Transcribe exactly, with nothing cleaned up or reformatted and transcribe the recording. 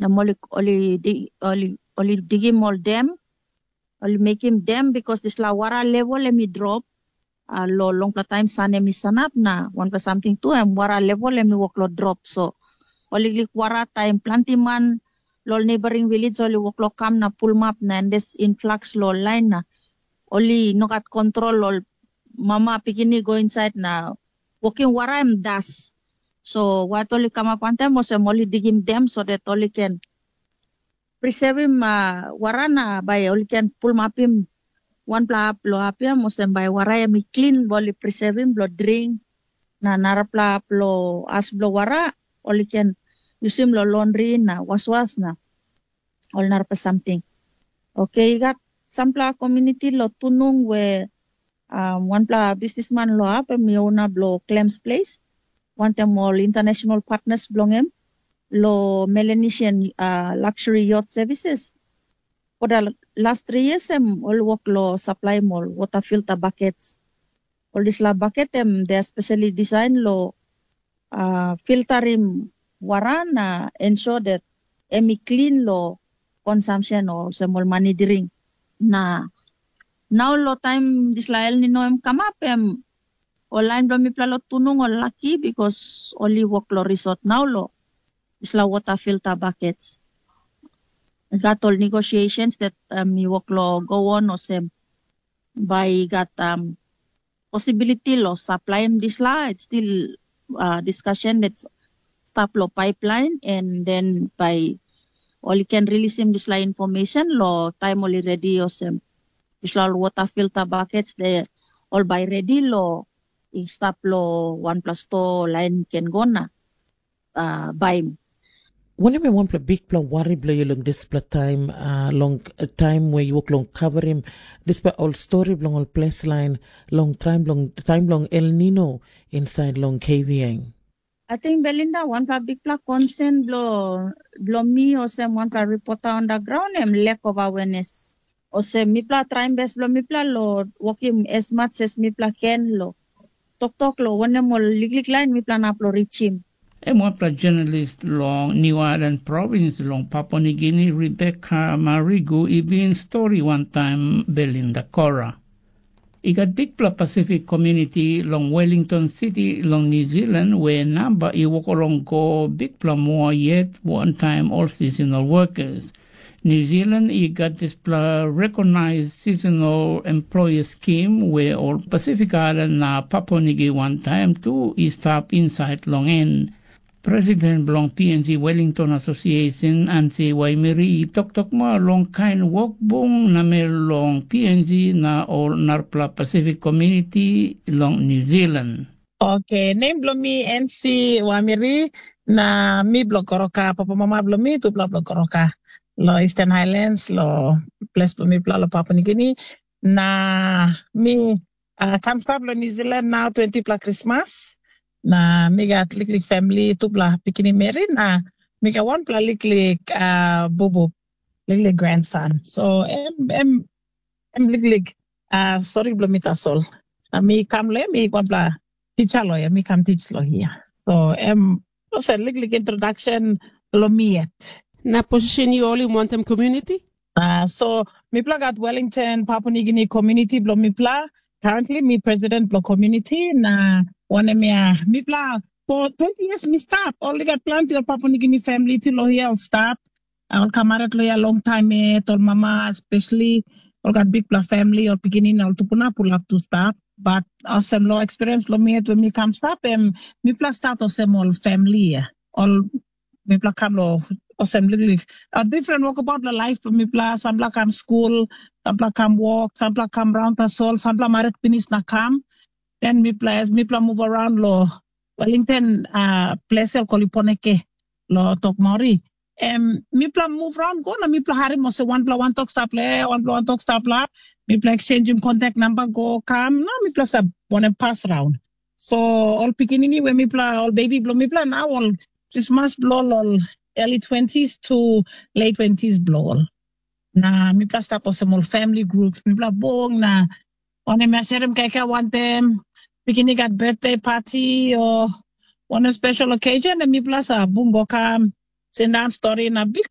Na ol i, ol i, di- ol i, ol i digim ol dem, ol i mekim dem, bikos dispela wara level em i drop. Uh, lo longpela taim san em i sanap, na wanpela samting tu, em wara level em i wok lo drop. So ol i lik wara taim planti man lo neighboring village ol i wok lo kam na pulmap na endes influx lo lain na ol i no gat kontrol, ol mama pikinini go insait na wokim wara em das. So wat ol i kamap wantaim olsem ol i digim dem so dat ol i ken prisevim uh, wara na bai ol i ken pulmapim wanpela hap lo hap ya, olsem bai wara em i klin, ol i prisevim blo dring, na narapela hap lo as blo wara ol i ken yusim lo londri na waswas na ol narapela samting. Oke, i gat sampela komuniti lo Tunung we um, wanpela bisnisman lo hap em i ona blo Clems Place, wantaim ol international partners bilong em lo Melanesian uh, luxury yacht services. For the last three years em ol wok lo supply ol water filter buckets. Ol dispela bucket em they are specially design lo uh, filterim wara na ensure that em i clean lo consumption o olsem ol mani drink. Na nau lo taim dispela El Nino em kamap, em ol lain bilong mipela lo Tunung ol laki, because ol i wok lo resort nau lo dispela water filter buckets. I gat ol negotiations that um, i wok lo go on olsem bai i gat um, possibility lo supply em dispela, it's still uh, discussion that's stap lo pipeline, and then by ol i can release em dispela information lo time ol i ready olsem dispela ol water filter buckets de ol by ready lo i stap lo wanpela store line can go na uh, baim. Wanem em wanpela bikpela wari bilong yu long dispela taim, uh, long uh, taim we yu wok long kaverim dispela ol stori bilong ol ples lain long taim bilong taim bilong El Nino inside long K V N? Ating Belinda, wanpela bikpela concern blo blo mi olsem wanpela reporter on the ground em lack of awareness. Olsem mipela traim bes blo mipela lo wokim as much as mipela ken lo toktok lo wanem ol liklik lain mipela nap lo richim. Em wanpela jenalis long New Ireland provins long Papua Nigini, Rebecca Marigu, i bin stori wantaim Belinda Kora. I gat bikpela Pasifik komuniti long Wellington City long New Zealand we namba i wok long go bikpela moa yet wantaim ol seasonal workers. New Zealand i gat dispela recognized seasonal employer scheme we ol Pacific Island na Papua Nigi wantaim tu i stap insait long en. President bilong P N G Wellington Association, Ansi Waimiri, i toktok moa long kain wok bung namel long P N G na ol narapela Pacific Community long New Zealand. Oke, nem bilong mi N C Wamiri, na mi bilong Goroka, papa mama bilong mi tupela bilong Goroka. Lo Eastern Highlands, lo ples bilong mipela lo Papua Nigini. Na mi uh, kam stap lo New Zealand nau twenty pela Krismas. Na mi gat liklik family, tupela pikinini meri, na mi gat wanpela liklik uh, bubu, liklik grandson. So em, em, em liklik uh, stori bilong mi tasol. Na mi kam lo em, mi wanpela teacher lo em, mi kam teach lo hia. So em, olsem liklik introduction lo mi yet. Na position yu holim wantaim community? Uh, so mipela gat Wellington, Papua New Guinea community bilong mipela. Currently mi president bilong community na wanem ya mipela for twenty years mi stap. Ol i gat planti ol Papua New Guinea family tu lo hia ol stap. Ol kamaret lo hia long taim yet, ol mama especially, ol gat bikpela family, ol pikinini, ol tupuna pulap tu stap. But olsem lo experience lo mi yet when mi kam stap, em mipela start olsem ol family ya. Ol mipela kam lo olsem liklik a different wokabaut lo laip bilong mipela. Sampela kam skul, sampela kam wok, sampela kam raun tasol, sampela marit pinis na kam. Den mipela as mipela muv around lo Wellington uh, ples el koli Poneke lo tok maori. Em mipela muv raun go na mipela harim olsem wanpela wantok stapla, wanpela wantok stapla. Mipela eksenjim kontak namba go kam na mipela sa wanem pas raun. So ol pikinini we mipela ol bebi bilong mipela na ol krismas bilong ol early twenties to late twenties bilong ol. Na mipela stap olsem ol family group, mipela bung na wanem ya sharim kaikai wantaim pikinini gat birthday party o wanem special occasion na mipela sa bung go kam sindaun stori na big